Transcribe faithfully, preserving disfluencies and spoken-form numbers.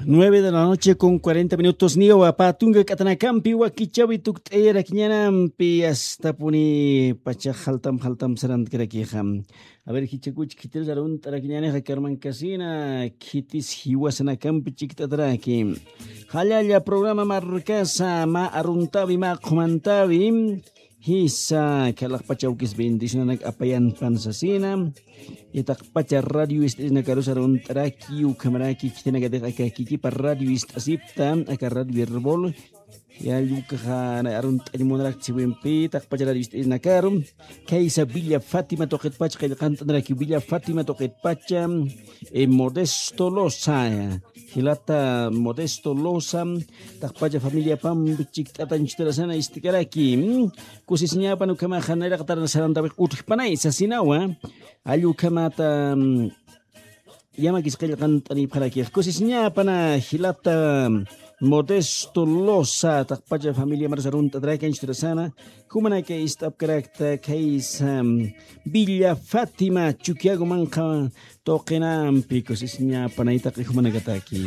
Nueve de la noche con cuarenta minutos, niwa pä tunka k'atanakampi wakichäwi tukt'ayarakiñänampi, astapuni pacha jaltam jaltam sarantkarakixa. A ver, jichhakuch khitirus arunt'arakiñänixa karmankasina, khitis jiwasanakampi chikt'ataraki. Jallalla programa markasa mä aruntäwi, mä qhumantäwi. Jisa, khalaqpacha awkis bendicionanak apayanpan sasina. Taqpacha radio ist'irinakarus arunt'araki, ukhamaraki khitinakatix aka kikipa radio ist'asipta, aka radio Erbol. Yalla ukaxa arunt'añ munarakta siwimpi, taqpacha radio ist'irinakaru. Khaysa Villa Fátima tuqitpacha qillqant'aniraki, Villa Fátima tuqitpacha, eh, Modesto Loza, jilata Modesto Loza, taqpacha familiapampi chikt'atañ chhutaraksana ist'karaki. Mm, kusisiñäpan ukhamaxa nayraqatar sarantawix utjpanay sasinawa. Jall ukhamata, mm, yamakis qillqant'anipxarakix. Kusisiñäpana jilata Modesto Loza, taqpacha familiamarus arunt'ataraki chhutaraksana. Jumanaka ist'apkarakta khaysa, mm, Villa Fátima Chuquiago manqha tuqinampi, kusisiñäpanay taqi jumanakataki.